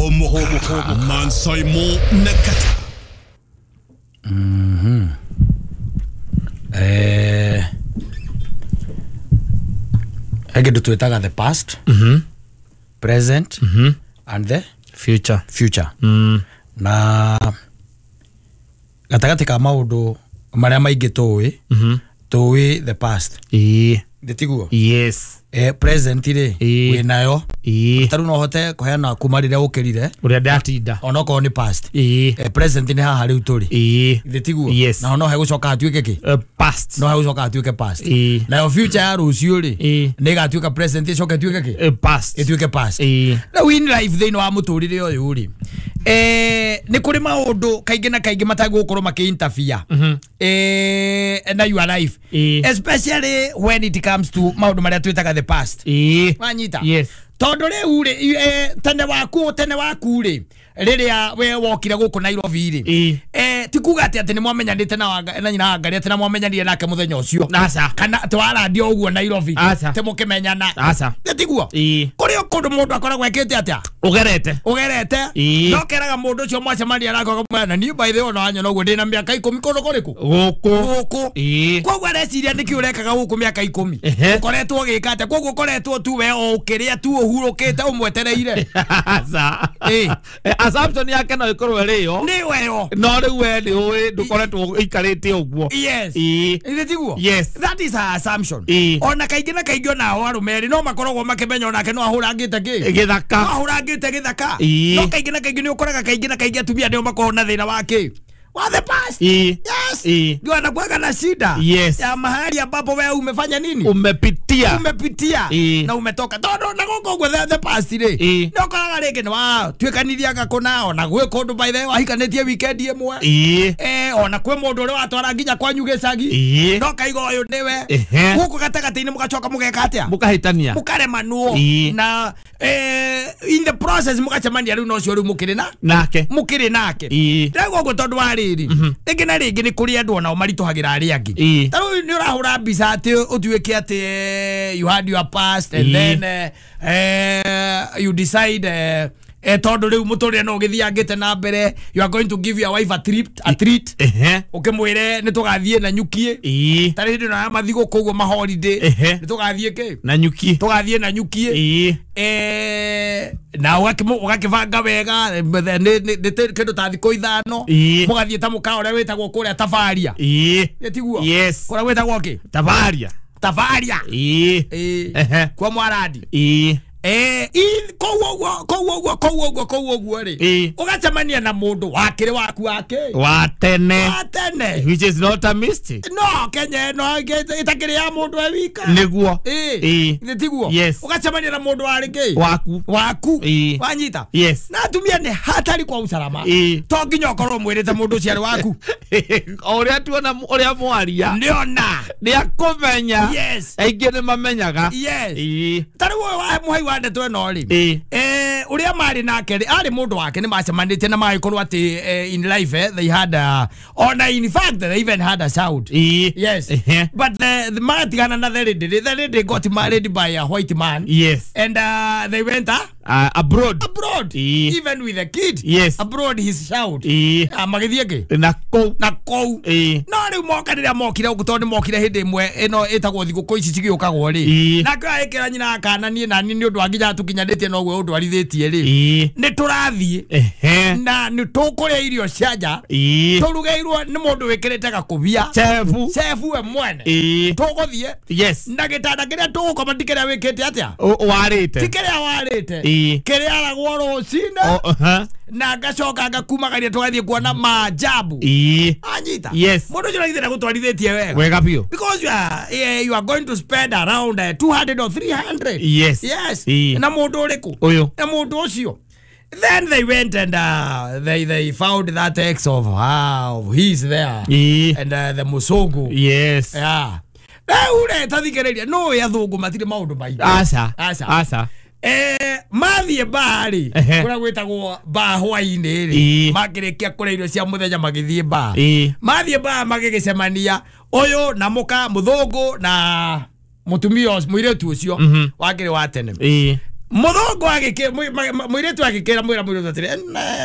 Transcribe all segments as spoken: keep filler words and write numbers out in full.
Hũmũka Mansaimo Nakata. Mhm. Eh Hege twetaga the past, mhm present, mhm and the future. Future. Mm. Na gatagatĩ ka maũndũ marĩa maingĩ tũĩ, mhm tũĩ the past. Ĩĩ. Ndĩtiguo? Yes. Eh, present rĩ, Ĩĩ. wĩnayo. Ĩĩ. Tarĩu no ũhote kũheana kuma rĩrĩa ũkĩrire Ũrĩa ndatinda. onokorwo nĩ past. Ĩĩ. Eh, present nĩ haha rĩu tũrĩ. Ĩĩ. Ndĩtiguo? Yes. Naho no hegũcoka hatuĩke kĩ? Uh, past. No hegũcoka hatuĩke past. Ĩĩ. Nayo future ya rũciũ rĩ, Ĩĩ. nĩ ĩgatuĩka present ĩcoke ĩtuĩke kĩ? Uh, past. Ĩtuĩke past. Ĩĩ. Rĩu in life thĩinĩ wa mũtũrĩre ũyũ rĩ, eh, nĩ kũrĩ maũndũ kaingĩ na kaingĩ matagũkorwo makĩ interfere Mhm. eh, na your life, Ĩĩ. especially when it comes to maũndũ marĩa twĩtaga the past. Ĩĩ. Wanyita? Yes. Tondũ rĩu rĩ, eh, tene waku tene waku rĩ, rĩrĩa we wokire gũkũ Nairobi rĩ, Ĩĩ. eh, ti kuga atĩ atĩ nĩ mwamenyanĩte na Wanga- na nyina wa Ngari, atĩ na mwamenyanire nake mũthenya ũcio Aca. kana atĩ warandio ũguo Nairobi Aca. atĩ mũkĩmenyana. Aca. Tiguo? Ĩĩ. Kũrĩ o kũndũ mũndũ akoragwo ekĩte atĩa? Ũgerete. Ũgerete. Ĩĩ. No keraga mũndũ ũcio mwacemania nake ũkamwĩra, na niĩ by the way ona wanyona ũguo ndĩna mĩaka ikũmi kũndũ kũrĩkũ? Gũkũ. Gũkũ. Ĩĩ. Koguo areciria nĩkĩ ũrekaga gũkũ mĩaka ikũmi? Ehe. Ũkoretwo ũgĩka atĩa? Koguo ũkoretwo tu we o ũkĩrĩa tu ũhurũkĩte ũmwetereire. Aca. Ĩĩ. Eh, assumption yake no ĩkorwo ĩrĩ yo. Nĩ weyo. No rĩu we nĩ ũĩ ndũkoretwo ũikarĩte ũguo. Yes. Ĩĩ. Ithĩ tiguo? Yes. That is her assumption. Ĩĩ. Ona kaingĩ na kaingĩ onao arũme erĩ no makoragwo makĩmenya onake no ahũrangĩte kĩ? Gĩthaka. No ahũrangĩte gĩthaka. Ĩĩ. No kaingĩ na kaingĩ nĩ ũkoraga kaingĩ na kaingĩ atumia nĩo makoragwo na thĩna wa kĩ? Wa the past. Ĩĩ. Yes. Ĩĩ. Ndio anakuwaga na shida. Yes. Ya mahali ambapo wewe umefanya nini? Umepitia. Umepitia. Ĩĩ. Na umetoka. Tondũ na gũkũ ũguo the, the past rĩ. Ĩĩ. Nĩ ũkoraga rĩngĩ nĩ watuĩkanithia kũna ona gwĩ kũndũ by the way wahikanĩtie weekend ĩmwe. Ĩĩ. Eh, ona kwĩ mũndũ ũrĩa watwara nginya kwanyu gĩcagi. Ĩĩ. No kaiga ũyũ nĩwe. Ehe. Gũkũ gatagatĩ-inĩ mũgacoka mũgeka atĩa? Mũkahĩtania. Mũkaremanwo. Ĩĩ. Na eh, in the process mũgacemania rĩu na ũcio rĩu mũkĩrĩ na Nake. mũkĩrĩ nake. Ĩĩ. Rĩu ũguo tondũ wa rĩrĩ, rĩngĩ na rĩngĩ nĩ kũrĩ andũ onao maritũhagĩra arĩa angĩ. Ĩĩ. Ta rĩu nĩ ũrahũra mbica atĩ ũtuĩke atĩ eh, you had your past and Ĩĩ. then eh, eh, you decide eh, eh, tondũ rĩu mũtũrĩre no ũgĩthiangĩte na mbere, you are going to give your wife a trip, a treat. Ehe. Ũkĩmwĩre nĩ tũgathiĩ na nyukie. Ĩĩ. Ta rĩu hĩndĩ ĩno ya mathigũkũ ũguo ma holiday, Ehe. nĩ tũgathiĩ kĩ? Na nyuki. Tũgathiĩ na nyukie. Ĩĩ. Eh, na ũgakĩmũ- ũgakĩbanga wega nĩ nĩ- nĩ kĩndũ ta thikũ ithano. Ĩĩ. Mũgathiĩ ta mũkawa ũrĩa wĩtagwo kũrĩa Tabaria. Ĩĩ. Ĩ tiguo? Yes. Kũrĩa gwĩtagwo kĩ? Tabaria. Tabaria. Ĩĩ. Ĩĩ. Ehe. Kwa Mwarandi. Ĩĩ. Eh, i- kũu ũguo kũu ũguo kũu ũguo kũu ũguo rĩ, Ĩĩ. ũgacemania na mũndũ wakĩrĩ waku wake Wa tene. wa tene. Which is not a mistake. No Kenya ĩno ĩtakĩrĩ ya mũndũ e wika. Nĩguo. Ĩĩ. Ĩĩ. Ithĩ tiguo? Yes. Ũgacemania na mũndũ warĩ kĩ? Waku. Waku. Ĩĩ. Wanyita? Yes. Na atumia nĩ hatari kwa usalama. Ĩĩ. To nginya ũkorwo mwĩrĩte mũndũ ũcio arĩ waku. O ũrĩa tuona ũrĩa mwaria. Nĩona. Nĩ akũmenya. Yes. Aingĩ nĩ mamenyaga. Yes. Ĩĩ. Ta rĩu ũyũ wa mũhai wa ndeto ĩno rĩ, Ĩĩ. eh, ũrĩa marĩ nake rĩ, arĩ mũndũ wake nĩ macemanĩtie na magĩkorwo atĩ eh, in life eh, they had a, ona in fact they even had a child. Ĩĩ. Yes. Ehe. But the, the magatigana na the lady, the lady got married by a white man. Yes. And uh, they went uh, Uh, abroad. abroad. Ĩĩ. Even with a kid. Yes. Abroad his child. Ĩĩ. Ah, magĩthiĩ kĩ? Na kũu. Na kũu. Ĩĩ. No rĩu moka rĩrĩa mokire gũkũ tondũ nĩ mokire hĩndĩ ĩmwe ĩno ĩtagwo thigũkũ ici cigĩũkagwo rĩ. Ĩĩ. Nake agĩkĩra nyina akana niĩ nani nĩ ũndũ wa nginya tũkinyanĩtie noguo ũndwarithĩtie rĩ. Ĩĩ. Nĩ tũrathiĩ Ehe. na nĩ tũkũrĩa irio cia nja Ĩĩ. tũrugĩirwo nĩ mũndũ wĩkĩrĩte gakũbia. Chefu. Chef we mwene. Ĩĩ. Tũgũthiĩ Yes. na gĩtanda kĩrĩa tũgũkoma ti kĩrĩa wĩkĩte atĩa? Ũ- Warĩte. Ti kĩrĩa warĩte. Ĩĩ. Kĩrĩa aragwo rũcinĩ O- uh-huh. na ngacoka ngakumagaria tũgathiĩ kuona maajabu. Ĩĩ. Anyita. Yes. Mũndũ ũcio nagithĩ ndagũtwarithĩtie wega. Wega biũ. Because you are, yeah, you are going to spend around uh, two hundred or three hundred. Yes. Yes. Ĩĩ. Na mũndũ ũrĩkũ? Ũyũ. Na mũndũ ũcio. Then they went and uh, they they found that ex of how he's there. Ĩĩ. And uh, the Musungu. Yes. Yeah. Rĩu rĩ tathikĩrĩria no athũngũ matirĩ maũndũ maingĩ. Aca. Aca. Aca. Eh, mathiĩ baa rĩ, Ehe. kũrĩa gwĩtagwo baa hwainĩ rĩ, Ĩĩ. makĩrĩkia kũrĩa irio cia mũthenya magĩthiĩ baa. Ĩĩ. Mathiĩ baa magĩgĩcemania ũyũ na mũka mũthũngũ na mũtumia ũcio- mũirĩtu ũcio Mhm. wakĩrĩ wa tene. Ĩĩ. Muthongo agike muiretu agikira mwira muiretu atiri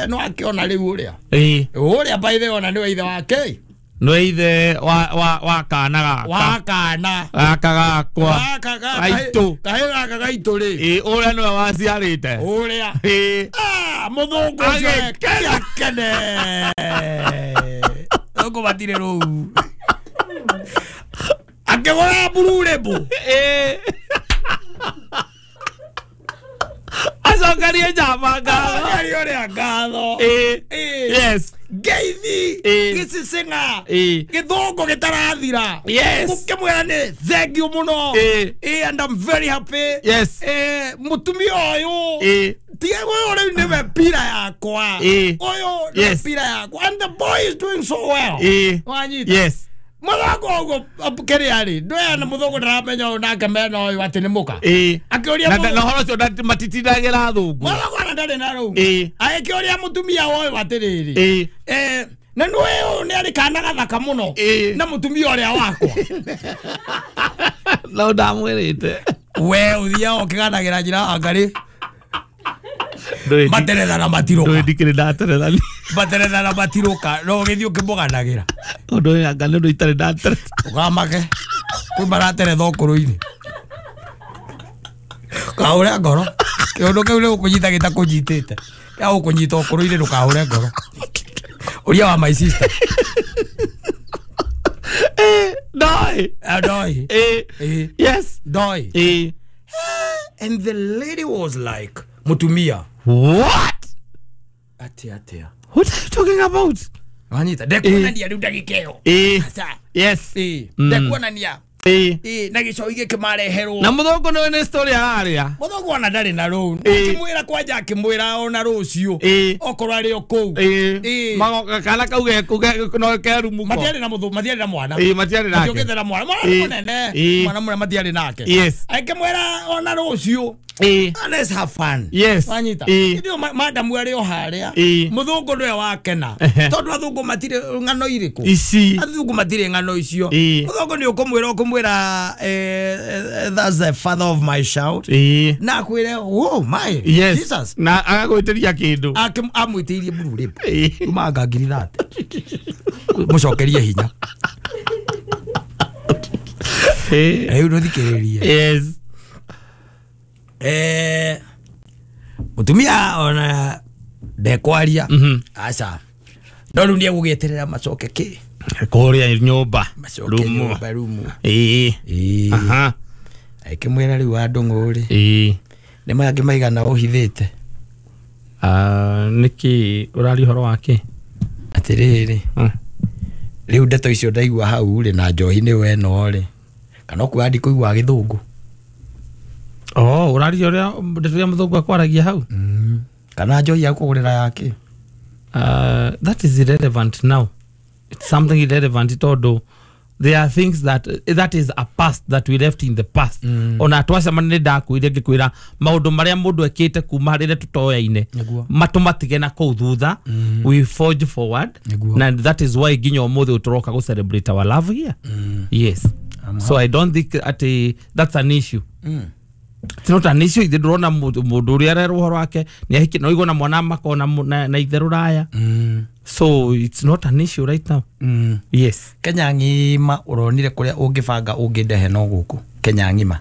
no akiona riu uria. Ii. Uria by the ona niwe ithe wake. Nĩ ithe wa wa wa kana gaka. Wa kana. Gaka gakwa. Gaka gaka. Gaitũ. Kahe gaka gaitũ rĩ. Ii ũrĩa nĩwe waciarĩte. Ũrĩa. Ii. Ah, muthongo ũcio akene. Muthongo matire rũu. Akĩgũra Blue Label. Ii. Acokerie njamba ngatho. Acokerie ũrĩa ngatho. Ii. Yes. Ngeithi gĩcicinga gĩthũngũ gĩtarathira. Yes. Gũkĩmwĩra nĩ thank you mũno. Ii, and I'm very happy. Yes. Eh, mũtumia ũyũ. Ii. Tiga ũyũ rĩu nĩwe mpira yakwa. Ii. Ũyũ nĩwe mpira yakwa. And the boy is doing so well. Ii. Wanyita. Yes. Muthongo ũguo kĩrĩa rĩ ndwea na muthongo ndaramenya ũyũ nake mena ũyũ atĩ nĩ mũka. Ii. Akĩũria na na ũhoro ũcio matitindagĩra athũngũ. Muthongo ona ndarĩ na rũu. Ii. Agĩkĩũria mũtumia ũyũ atĩrĩrĩ. Ii. Eh, na nĩ ũyũ nĩ arĩ kana gathaka mũno. Ii. Na mũtumia ũrĩa wakwa. No ndamwĩrĩte. We ũthiaga ũkĩganagĩra njĩra angarĩ. Materetha na matiroka. Ndũĩ ndikĩrĩ ndateretha. Materetha na matiroka no ũgĩthiĩ ũkĩmũganagĩra. Ũndũ ũyũ anga nĩ ũndũ itarĩ ndateretha. Ũkamake. Kwĩ marateretha ũkũrũ-inĩ. Kahũre ngoro. Kĩũndũ kĩu nĩ gũkũnyita gĩtakũnyitĩte. Gĩa gũkũnyita ũkũrũ-inĩ ndũkahũre ngoro. Ũria wa my sister. Eh, ndoi. Ndoi. Eh. Yes. Ndoi. Eh. And the lady was like, mutumia. What? Atia atia. What are you talking about? Wanyita ndekuonania riu ndagika ĩyo. Eh. Yes. Eh. Ndekuonania. Eh. Eh, na gĩcogi gĩkĩmareherwo. Na muthongo nĩwe nĩ story araria. Muthongo ona ndarĩ na rũu. Akĩmwĩra kwanja akĩmwĩra ona rũciũ. Okorwo arĩ o kũu. Eh. Magoka kana kau ge no kerumuko. Matiarĩ na mũthũ, matiarĩ na mwana. Eh, matiarĩ nake. Matiokĩte na mwana. Mwana mũnene. Mwana mũnene matiarĩ nake. Yes. Akĩmwĩra ona rũciũ. Eh. Let's have fun. Yes. Wanyita. Eh. Ndio madamu arĩ o harĩa. Eh. Muthũngũ nĩwe wakena. Tondũ athũngũ matirĩ ng'ano irĩkũ. Ici. Athũngũ matirĩ ng'ano icio. Eh. Muthũngũ nĩ ũkũmwĩra ũkũmwĩra eh, that's the father of my child. Eh. Na akwĩre oh my. Yes. Jesus. Na agagwĩtĩria kĩndũ. Amwĩtĩirie Blue Label. Eh. Kuma anga ngiri thate. Mũcokerie hinya. Eh. Rĩu ndũthikĩrĩrie. Yes. Eh, mutumia ona ndekwaria. Mm-hmm. Aca no rĩu nĩegũgĩeterera macoke kĩ kũrĩa nyũmba macoke nyũmba rumu. Ĩĩ. Ĩĩ. Aha. Akĩmwĩra rĩu wa ndũng'ũ rĩ. Ĩĩ. Nĩ mangĩ maigana ũhithĩte. Ah, nĩkĩ ũraria ũhoro wake? Atĩrĩrĩ. Mm. Rĩu ndeto icio ndaigua hau rĩ na njohi nĩ weno rĩ. Kana ũkuga ndikũigua gĩthũngũ. Oh, ũraria ũrĩa ndeto ya mũthũngũ akwaragia hau? Mm. Kana njohi ya kũgũrĩra yake? Uh, that is irrelevant now. It's something irrelevant tondũ there are things that that is a past that we left in the past. Mm. Ona twacemania nĩ ndakwĩrire ngĩkwĩra maũndũ marĩa mũndũ ekĩte kuma rĩrĩa tũtoyaine matũmatige na kũu thutha. Mm. We forge forward. Nĩguo. And that is why nginya ũmũthĩ tũroka gũ celebrate our love here. Mm. Yes. I'm so I don't think at a, that's an issue. Mm. It's not an issue. Ithe ndũrona mũndũ ũrĩa arerwo ũhoro wake nĩ ahiki no igona mwana makona na, na ithe rũraya. Mm. So it's not an issue right now. Mm. Yes. Kenya ng'ima ũronire kũrĩa ũngĩbanga ũngĩndehe no gũkũ Kenya ng'ima.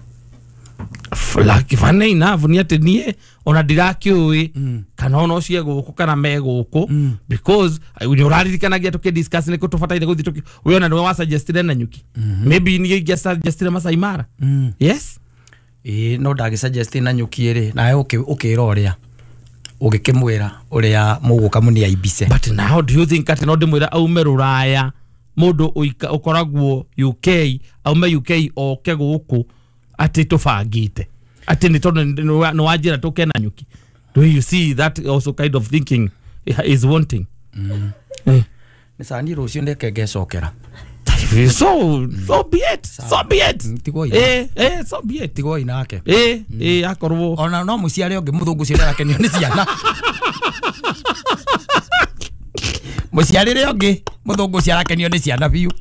Like funny enough nĩ atĩ niĩ ona ndirakĩũĩ Mm. kana ona ũcio gũkũ kana me gũkũ Mm. because nĩ ũraririkanagia tũkĩ discuss nĩ kũ tũbataire gũthiĩ tũkĩ we ona nĩwe wasuggestire na nyuki. Maybe niĩ ingĩasuggestire Masai Mara. Mm. Yes. Ĩĩ no ndagĩsuggest na nyuki ĩrĩ nawe ũkĩra ũrĩa ũgĩkĩmwĩra ũrĩa mũgũka mũniaibice. But now do you think atĩ no ndĩmwĩra aume rũraya mũndũ ũkoragwo U K aume U K oke gũkũ atĩ tũbangĩte atĩ nĩ tondũ nĩ wanjĩra tũke na nyuki? Do you see that also kind of thinking is wanting? Mm. Eh. Nĩ cani rũciũ ndeke ngecokera. So so be it. So be it. Tigwo ina. Eh, eh, so be it. Tigwo inake. Eh, eh, akorwo ona no mũciare ũngĩ mũthũngũ ũcio ndarakenio nĩ ciana. Mũciarĩre ũngĩ mũthũngũ ũcio arakenio nĩ ciana biũ.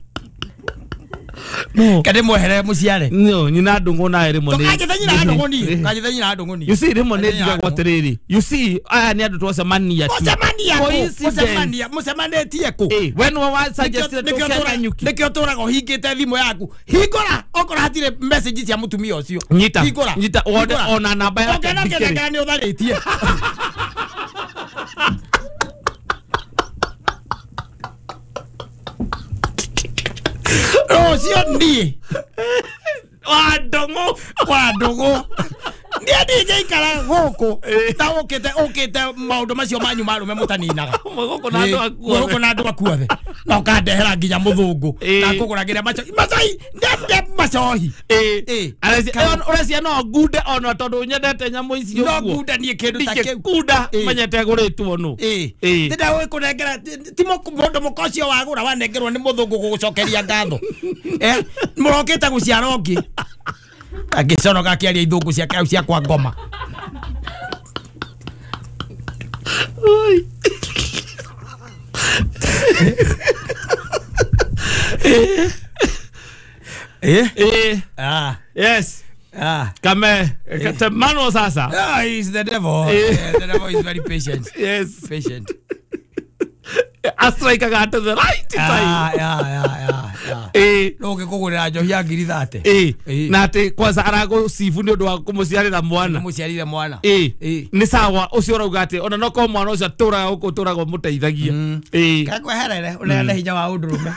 No. Kande mwehere muciare. No, nyina ndungu nawe rĩmwe nĩ- Tũkanjĩte nyina ndũng'ũ niĩ. Kanjĩte nyina ndũng'ũ niĩ. You see, rĩmwe nĩ Kanjĩte nyina njigagwo ndũng'ũ. atĩrĩrĩ. You see, aya nĩ andũ twacemania tu. Mũcemania kũ? Coincidence. Mũcemania mũcemanĩtie kũ? Eh, we nĩwe wa suggested Nĩkĩo tũke tũra- Nanyuki. nĩkĩo tũraga ũhingĩte thimũ yaku. Hingũra okorwo hatirĩ message cia mũtumia ũcio. Nyita, Hingũra. nyita, wone Hingũra. ona namba yake Ũngĩona ndikĩrĩ. kĩtheka nĩ ũtharĩtie. Rũciũ niĩ Wa ndũng'ũ. Wa ndũgũ niĩ ndingĩikara gũkũ ta ũkĩte ũkĩte maũndũ macio manyu ma arũme mũtaninaga. Mwĩ gũkũ na andũ aku Mwĩ gũkũ na andũ aku othe na ũkandehera nginya mũthũngũ Ĩ. na ngũgũragĩra macohi macoi ndende macohi. Eh, Ĩ. Arecia- ũrecia no ngunde ona tondũ nyendete nyamũ ici No ũguo. ngunda niĩ kĩndũ ta kĩu. Ndingĩkunda Ĩ. menyete gũrĩtwo nũ. Ĩ. Ĩ. Ndĩnda kũnengera ti mũndũ mũka ũcio wagũra wanengerwo nĩ mũthũngũ gũgũcokeria ngatho. Eh, mũrokĩte gũciara ũngĩ angĩconoka akĩaria ithũngũ ciake au cia kwa ngoma. Eh? Eh, Ah. yes. Ah. Kame katemano sasa. Ah, he's the devil. Eh. Yeah, the devil is very patient. Yes. Patient. Astrikaga at the right Ah, time. yeah, yeah, yeah, yeah. Eh. No ũngĩkũgũrĩra njohi ya ngiri thate. Eh. Eh. Na atĩ kwanza aragũcibu nĩ ũndũ wa kũmũciarĩra mwana. Mũciarire mwana. Eh. Eh. Nĩ sawa ũcio ũrauga atĩ ona no korwo mwana ũcio atũraga gũkũ ũtũraga ũmũteithagia. Eh. Kakweherere ũneane hinya wa ũndũrũme.